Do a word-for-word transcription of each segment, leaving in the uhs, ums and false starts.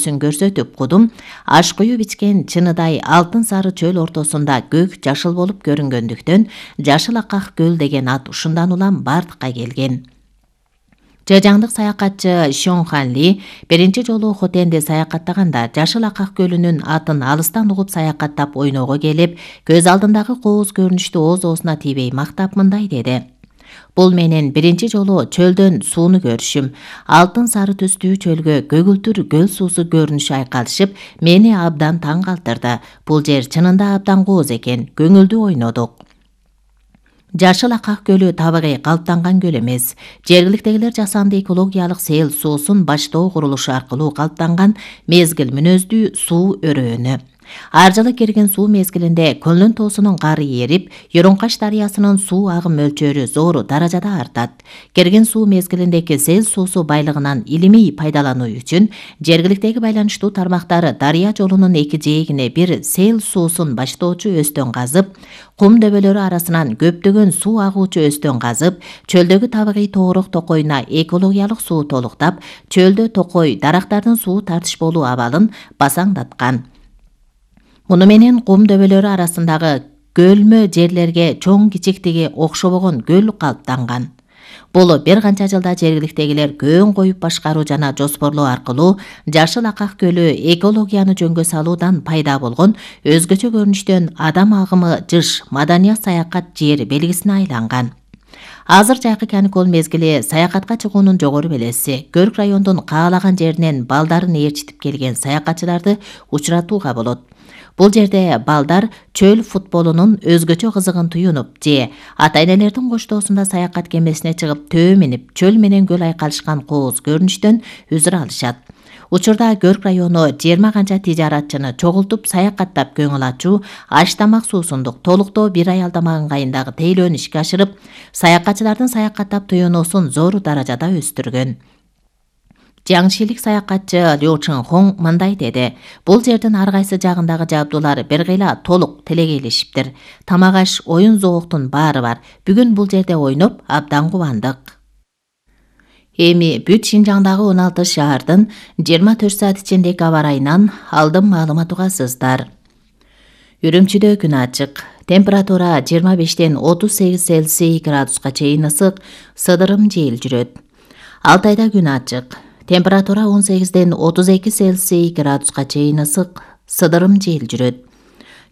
сүн көрсөтүп кудум аш куюп ичкен чыныдай алтын сары чөл ортосунда көк жашыл болуп көрүнгөндүктөн Жашыл Акак көл деген ат ушундан улам бардыкка келген. Жежаңдык саякатчы Шон Хан Ли биринчи жолу Хотенде саякаттаганда Жашыл Акак көлүнүн атын алыстан угуп саякаттап ойноого келип, көз алдындагы кооз көрүнүштү оозосуна тийбей мактап мындай деди: Бул менин биринчи жолу чөлдөн сууну көрүшүм. Алтын сары түстүү чөлгө көгүлтүр көл суусу көрүнүшү айкалышып, мени абдан таң калтырды. Бул жер чынында абдан кооз экен. Көңүлдүү ойнодук. Жашыл Акак көлү табигый калыптанган көл эмес. Жергиликтегилер жасанды экологиялык сел суусун баштоо курулушу аркылуу калыптанган мезгил мүнөздүү суу өрөөнү. Ар жылы кирген суу мезгилинде көлдүн тоосунун кары эрип, Юрункаш дарыясынын суу агым мөлчөрү зор даражада артат. Кирген суу мезгилиндеги сел суусу байлыгынан илимий пайдалануу үчүн жергиликтеги байланыштуу тармактары дарыя жолунун эки жээгине бир сел суусун баштоочу өстөн казып, кум дөбөлөрү арасынан көптөгөн суу агуучу өстөн казып, чөлдөгү табигый тоорок токойуна экологиялык суу толуктап, чөлдө токой дарактардын суу тартыш болуу абалын басаңдаткан. Муну менен кум дөбөлөрү арасындагы көлмө жерлерге чоң кичиктиги окшобогон көл калыптанган. Бул бир канча жылда жергиликтегилер көөн коюп башкаруу жана жоспорлоо аркылуу Жашыл Акак көлү экологияны жөнгө салуудан пайда болгон өзгөчө көрүнүштөн адам агымы жыш маданият саякат жери белгисине айланган. Азыр жайкы каникул мезгили саякатка чыгуунун жогору белеси. Көрк райондун каалаган жеринен балдарын ээрчитип келген саякатчыларды учуратууга болот. Бул жерде балдар чөл футболунун өзгөчө кызыгын туюнуп же ата-энелердин коштоосунда саякат кемесине чыгып төө минип, чөл менен көл айкалышкан кооз көрүнүштөн үзүр алышат. Учурда Көрк району жыйырма канча тижаратчыны чогултуп саякаттап көңүл ачуу, аш тамак суусундук толуктоо бир ай алдама ыңгайындагы тейлөөнү ишке ашырып, саякатчылардын саякаттап туюнуусун зор даражада өстүргөн. Жаңшилик саякатчы Лю Чын Хонг мындай деди: Бул жердин ар кайсы жагындагы жабдуулар бир кыйла толук тилегейлешиптир. Тамак аш, оюн зооктун баары бар. Бүгүн бул жерде ойноп абдан кубандык. Эми бүт Шинжаңдагы он алты шаардын жыйырма төрт саат ичиндеги аба ырайынан алдын маалымат угасыздар. Үрүмчүдө күн ачык. Температура жыйырма бештен отуз сегиз Цельсий градуска чейин ысык, сыдырым жел жүрөт. Алтайда күн ачык. Температура он сегизден отуз эки Цельсий градуска чейин ысык, сыдырым жел жүрөт.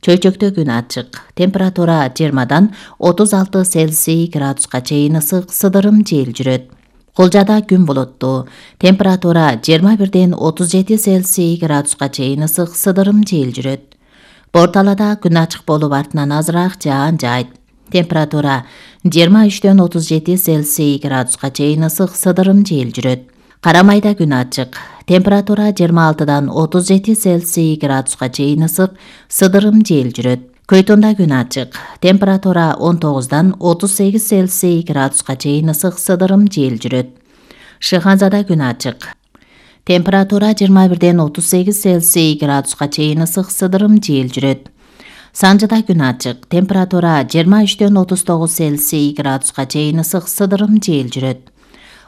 Чөйчөктө күн ачык. Температура жыйырмадан отуз алты Цельсий градуска чейин ысык, сыдырым жел жүрөт. Кулжада күн булуттуу. Температура жыйырма бирден отуз жети Цельсий градуска чейин ысык, сыдырым жел жүрөт. Борталада күн ачык болуп артынан азыраак жаан жайт. Температура жыйырма үчтөн отуз жети Цельсий градуска чейин ысык, сыдырым жел жүрөт. Карамайда күн ачык. Температура жыйырма алтыдан отуз жети Цельсий градуска чейин ысык, сыдырым жел жүрөт. Көйтүндө күн ачык. Температура он тогуздан отуз сегиз Цельсий градуска чейин ысык, сыдырым жел жүрөт. Шыханзада күн ачык. Температура жыйырма бирден отуз сегиз Цельсий градуска чейин ысык, сыдырым жел жүрөт. Санжыда күн ачык. Температура жыйырма үчтөн отуз тогуз Цельсий градуска чейин ысык, сыдырым жел жүрөт.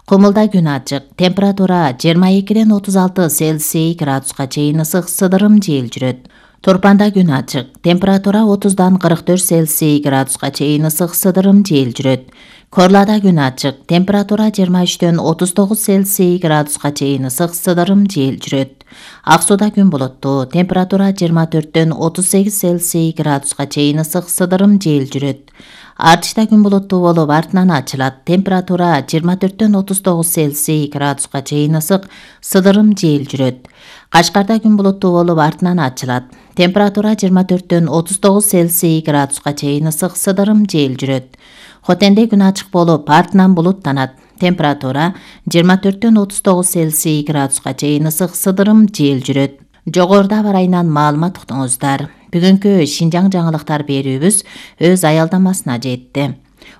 Кумулда күн ачык. Температура жыйырма экиден отуз алты Цельсий градуска чейин ысык, сыдырым жел жүрөт. Турпанда күн ачык. Температура отуздан кырк төрт Цельсий градуска чейин ысык, сыдырым жел жүрөт. Корлада күн ачык. Температура жыйырма үчтөн отуз тогуз Цельсий градуска чейин ысык, сыдырым жел жүрөт. Ак сууда күн булуттуу. Температура жыйырма төрттөн отуз сегиз Цельсий градуска чейин ысык, сыдырым жел жүрөт. Артышта күн булуттуу болуп артынан ачылат. Температура жыйырма төрттөн отуз тогуз Цельсий градуска чейин ысык, сыдырым жел жүрөт. Кашкарда күн булуттуу болуп артынан ачылат. Температура жыйырма төрттөн отуз тогуз Цельсий градуска чейин ысык, сыдырым жел жүрөт. Хотенде күн ачык болуп артынан булуттанат. Температура жыйырма төрттөн отуз тогуз Цельсий градуска чейин ысык, сыдырым жел жүрөт. Жогоруда аба ырайынан маалымат уктуңуздар. Бүгүнкү Шинжаң жаңылыктар берүүбүз өз аялдамасына жетти.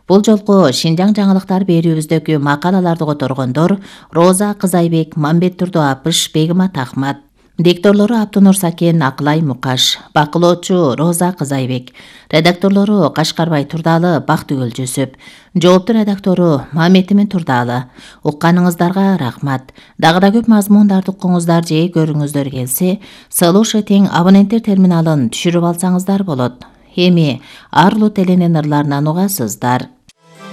Бул жолку Шинжаң жаңылыктар берүүбүздөгү макалаларды которгондор Роза Кызайбек, Мамбет Турду Апыш, Бегимат Ахмат. Дикторлору Аптонур Сакен, Акылай Мукаш, бакылоочу Роза Кызайбек, редакторлору Кашкарбай Турдалы, Бактыгүл Жүсүп, жоопту редактору Мамедимин Турдалы. Укканыңыздарга рахмат. Дагы да көп мазмундарды укуңуздар же көрүңүздөр келсе, Слушай тең абоненттер терминалын түшүрүп алсаңыздар болот. Эми Арлу теленин ырларынан угасыздар.